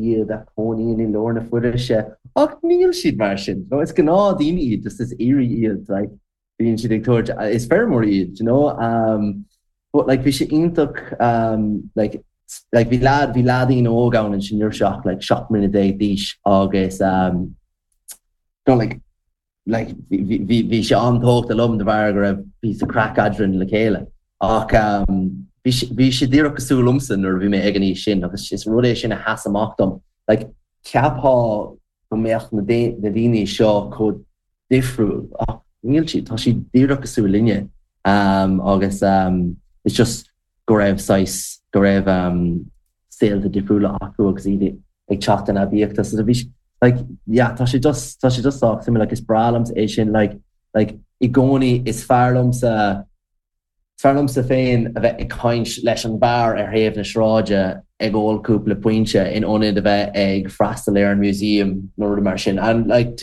Iad a chónaíonn i lár na foraoise ach níl siad mar sin. No, is gnáthdhaoine iad, just is aoirí iad, like, bíonn siad ag tabhairt, is feirmeoirí iad, you know. Um, but like bhí sé iontach um, like, like bhí leaid, bhí leaidín óg ann ansin ní raibh sé ach like 17 mbliana d'aois agus um, no, like, like, bhí sé an-tógtha liom de bharr go raibh píosa craic eadrainn le chéile. Ach bhí sé díreach cosúil liomsa nuair a bhí mé ag an aois sin agus is rud é sin a sheas amach dom. Like, cheapfá go mbeadh na daoine seo chomh difriúil ach níl siad, tá siad díreach cosúil linne agus it's just go raibh saghas, go raibh saolta difriúla acu agus iad ag teacht in aibíocht. So bhí like yeah tá sé just tá sé just sách suimiúil like is breá liomsa é sin like like i gcónaí is fearr liomsa is fearr liomsa féin a bheith ag caint leis an bhfear ar thaobh na sráide ag ól cúpla puinte in ionad a bheith ag freastal ar an museum nó rud mar sin and like.